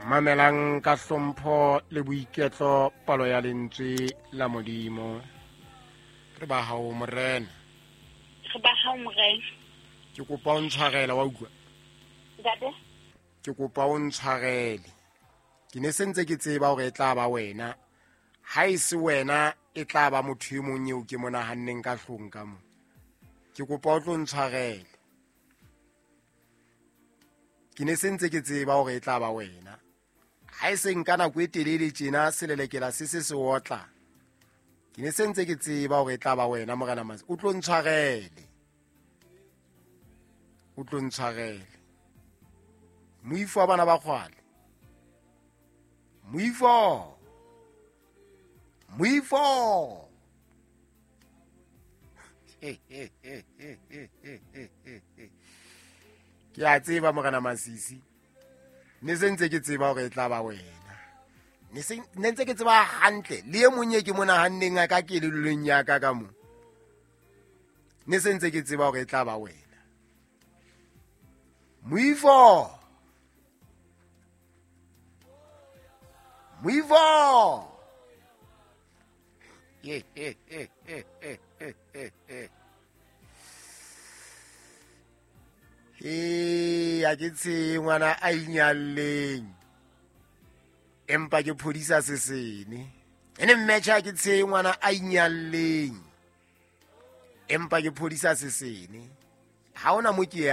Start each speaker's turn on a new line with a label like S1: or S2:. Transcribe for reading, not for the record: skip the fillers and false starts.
S1: Mamelang ka hlompho le boiketlo palo ya lentswe la Modimo. Re ba hao Morena.
S2: Re ba hao Morena.
S1: Ke kopa o ntshwarele wa utlwa.
S2: Ntate.
S1: Ke kopa o ntshwarele. Ke ne sentse ke tseba hore e tla ba wena. Ha e se wena e tla ba motho e mong eo ke mo nahanneng ka hlong ka mo. Ke kopa o tlo ntshwarele. Ke ne sentse ke tseba hore e tla ba wena. Ha e se nka nako e telele tjena selelekela se se se otla. Ke ne sentse ke tseba hore e tla ba wena Morena Mase. O tlo ntshwarele. O tlo ntshwarele. Moifo wa bana ba kgwale. Moifo. Moifo. Ke a tseba Morena Masisi. Ne sentse ke tseba hore e tla ba wena. Ne ntse ke tseba hantle le e mong e ke mo nahanneng a ka kelellong ya ka ka mo. Ne sentse ke tseba hore e tla ba wena. Moifo. Moifo. Ee, a ke tshe ngwana a inyalleng. Empa ke phodisa sesene. Ene mmetjha ke tshe ngwana a inyalleng. Empa ke phodisa sesene. Ha ona mo ke ya.